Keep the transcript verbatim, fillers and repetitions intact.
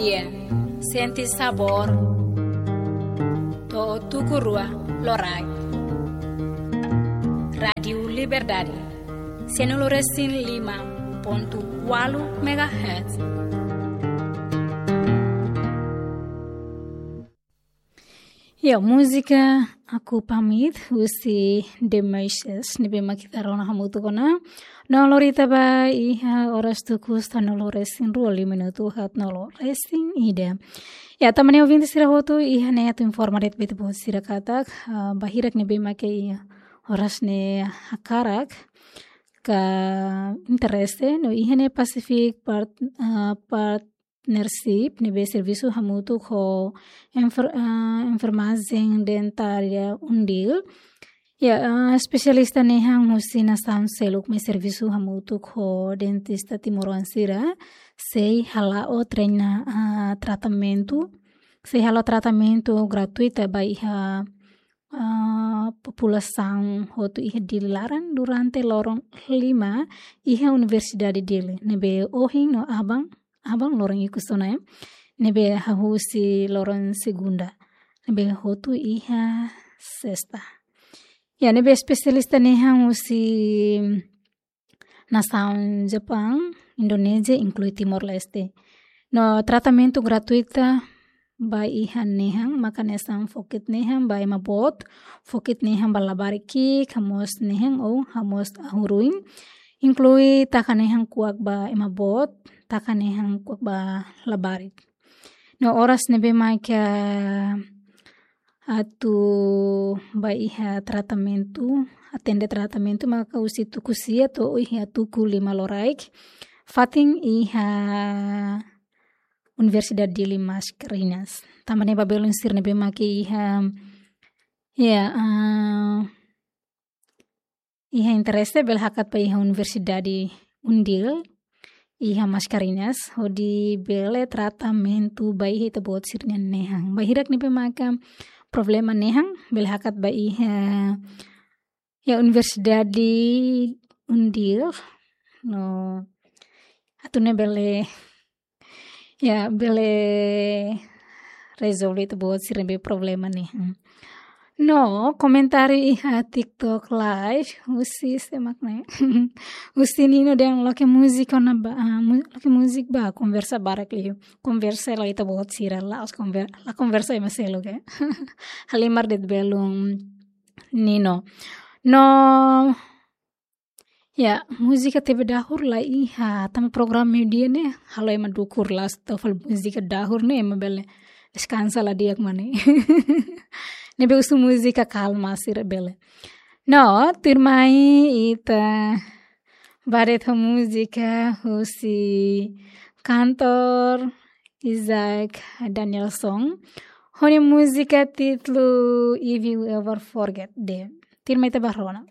Sente sabór. To'o tuku rua loraik. Rádiu Liberdade. Sianulu resin lima pontu ualu megahertz. Ya, múzika Aku Pamit husi The Marshes, ne'ebé mak ita rona hamutuk ona. No lori ita ba iha oras tuku sanulu resin rua, lima minutu haat nulu resin ida. Ya, tanba ne'e ouvinte sira hotu, iha ne'e atu informa de'it ba ita-boot sira katak, ah, ba hirak ne'ebé mak iha oras ne'e hakarak ka interese, no iha ne'e Pacific Part-, ah, Partnership, ne'ebé servisu hamutuk ho enfer-, ah, enfermajen dentária UNDIL. Ya, ah, espesialista nehan husi nasaun seluk mak servisu hamutuk ho dentista timoroan sira, sei hala'o treina, ah, tratamentu, sei hala'o tratamentu gratuita ba iha, ah, populasaun hotu iha Dili laran durante loron lima iha Universidade Dili, ne'ebé ohin no aban, aban loron ikus ona, eh, ne'ebé hahú husi loron segunda, ne'ebé hotu iha sesta. Ya, ne'ebé espesialista nehan husi nasaun Japaun, Indonézia, inklui Timor-Leste. No tratamentu gratuita ba iha nehan, maka hanesan fokit nehan ba ema boot, fokit nehan ba labarik ki'ik, hamoos nehan ou hamoos ahuru-oin, inklui taka nehan kuak ba ema boot, taka nehan kuak ba labarik. No oras ne'ebé mak atu ba iha tratamentu, atende tratamentu maka husi tuku sia to'o iha tuku lima loraik, fatin iha Universidade Dili Mascarenhas. Tanba ne'e ba belun sira ne'ebé mak iha, ya, ah, iha interese bele hakat ba iha Universidade UNDIL iha Mascarenhas, hodi bele tratamentu ba iha ita-boot sira-nia nehan. Ba hirak ne'ebé maka problema nehan, bele hakat ba iha, ya, Universidade UNDIL. No, atu nune'e bele, ya, bele rezolve ita-boot sira-nia problema nehan. No, komentáriu iha TikTok Live, husi sé mak ne'e? Husi Nino dehan loke múzika ona ba, ah, mu-, loke múzika ba, konversa barak liu. Konversa la ita-boot sira, la'ós konver-, la konversa ema seluk, eh. Halimar de'it belun Nino. No, ya, múzika T V dahur la iha, tanba programa meiudia ne'e, halo ema dukur, la'ós atu fali múzika dahur ne'e, ema bele deskansa la di'ak mak ne'e. Ne'ebé husu múzika kalma sira bele. No, tuirmai ita ba de'it ho múzika husi kantór Isaac Danielson. Ho nia múzika títulu If You Ever Forget Them. Tuirmai ita ba rona.